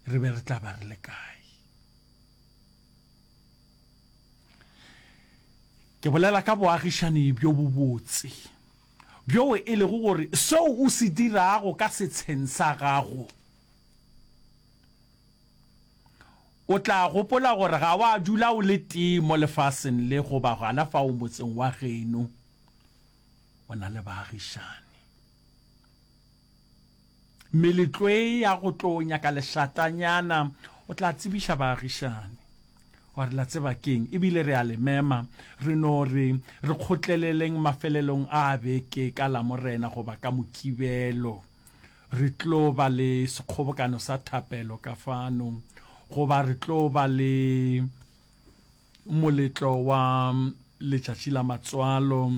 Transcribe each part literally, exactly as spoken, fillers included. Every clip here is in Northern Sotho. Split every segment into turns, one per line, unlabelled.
Re be re tla ba re le kae? Ke bolela ka boagišani bjo bobotse, bjoo e lego gore seo o se dirago ka setsheng sa gago, o tla gopola gore ga wa dula o le tee mo lefaseng le goba gona fao motseng wa geno o na le baagišani. Meletlo e ya go tlo nyaka lešatanyana, o tla tsebiša baagišani gore la tseba keng, ebile re a le mema, re no re re kgotleleleng mafelelong a beke ka Lamorena goba ka Mokibelo, re tlo ba le sekgobokano sa thapelo ka fano, goba re tlo ba le moletlo wa letšatši la matswalo.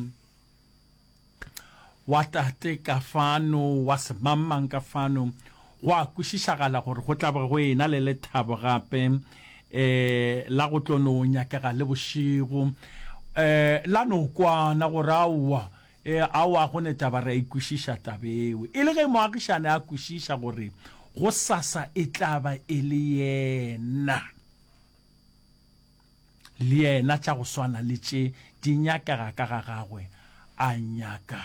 Wa tate ka fano, wa semangmang ka fano, go a kwešišagala gore go tla be go ena le lethabo gape um la go tlo no nyakega le bošego um la no kwana gore aowa, e, aowa go ne taba re a ikwešiša taba eo. E le ge moagišane a kwešiša gore gosasa e tla ba e le yena. Le yena tša go swana le tše di nyakega ka ga gagwe, a nyaka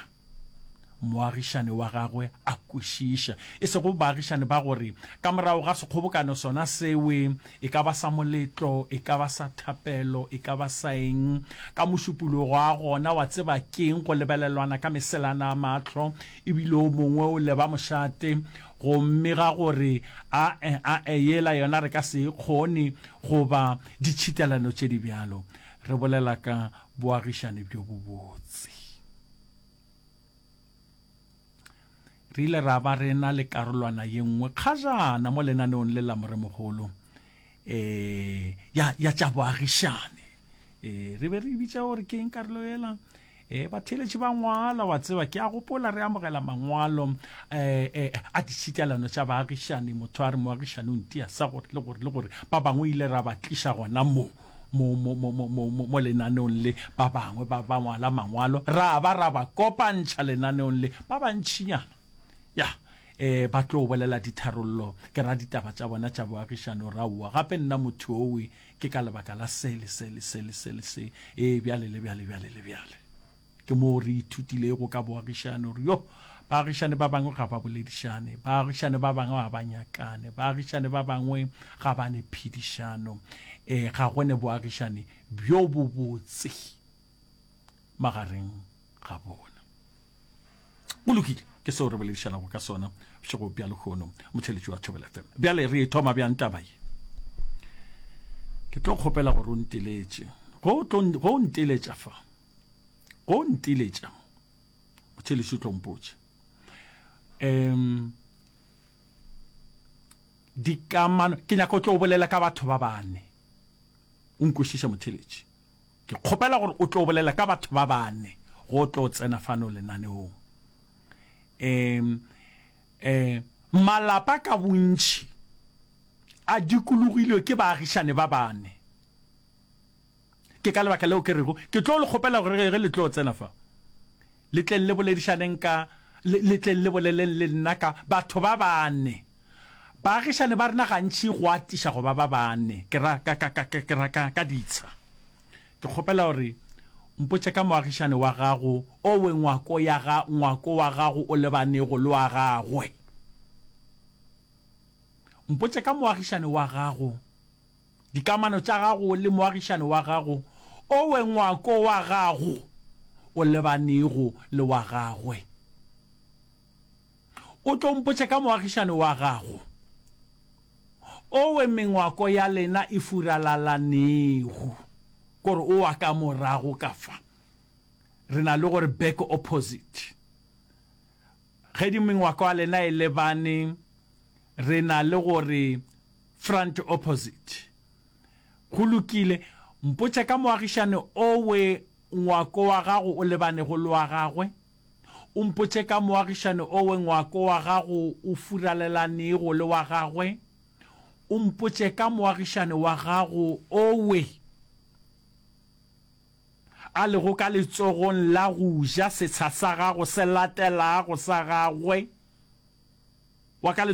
moagišane wa gagwe a kwešiša. E sego baagišane ba gore ka morago ga sekgobokano sona sewe, e ka ba sa moletlo, e ka ba sa thapelo, e ka ba sa eng, ka mošupologo wa gona wa tseba keng go lebelelwana ka meselana a mahlo, ebile o mongwe o leba mošate, gomme ga gore a-e, a-e, yela yona re ka se e kgone, goba ditšhitelano tše di bjalo. Re bolela ka boagišane bjo bobotse. Re ile ra ba re na le karolwana ye nngwe kgajana mo lenaneong le la Moremogolo, eh, ya, ya tša boagišane. Eh, re be re e bitša gore ke eng karolo yela? E, batheeletši ba ngwala, wa tseba, ke a gopola re amogela mangwalo eh, eh, a ditšhitelano tša baagišani, motho a re moagišani o ntia sa gore le gore le gore, ba bangwe ile ra ba tliša gona mo mo mo mo mo mo mo mo lenaneong le, ba bangwe ba ba ngwala mangwalo, ra ba ra ba kopantšha lenaneong le, ba bantšinyana ya eh, ba tlo bolela ditharollo, ke ra ditaba tša bona tša boagišani, ra aowa gape nna motho owe ke ka lebaka la se le se le se le se le se, ee bjale le bjale bjale le bjale. Ke moo re ithutilego ka boagišane gore yo, baagišane ba bangwe ga ba boledišane, baagišane ba bangwe ga ba nyakane, baagišane ba bangwe ga ba ne phedišano, e, ga go ne boagišane bjo bobotse magareng ga bona. Go lokile, ke seo re boledišanago ka sona bošego bja lehono, motheletši wa Thobela F M. Bjale re e thoma bjang taba ye? Ke tlo kgopela gore o nteletše. Go tlo, go nteletša fa. Go nteletša mo. Motheletši o tlo mpotša. Um, dikamano, ke nyaka o tlo bolela ka batho ba bane. O nkwešiša motheletši. Ke kgopela gore o tlo bolela ka batho ba bane go tlo tsena fano lenaneong. Um, um, malapa ka bontši a dikologilwe ke baagišane ba bane. Ke ka lebaka leo ke rego ke tlo le kgopela gore ge le tlo tsena fa, le tleng le boledišaneng ka, le, le tleng le boleleng le nna ka batho ba bane. Baagišane ba rena gantši go atiša go ba ba bane, ke ra ka, ka, ka, ke ra ka, ka ditsha. Ke kgopela gore mpotše ka moagišane wa gago owe ngwako ya ga, ngwako wa gago o lebanego le wa gagwe. Mpotše ka moagišane wa gago, dikamano tša gago le moagišane wa gago owe ngwako wa gago o lebanego le wa gagwe. O tlo mpotše ka moagišane wa gago owe mengwako ya lena e furalalanego, kore o wa ka morago ka fa. Re na le gore back opposite. Ge di mengwako ya lena e lebane, re na le gore front opposite. Go lokile, mpotše ka moagišane owe ngwako wa gago o lebanego le wa gagwe. O mpotše ka moagišane owe ngwako wa gago o furalelanego le wa gagwe. O mpotše ka moagišane wa gago owe a lego ka letsogong la go ja setsha sa gago se latelago sa gagwe, wa ka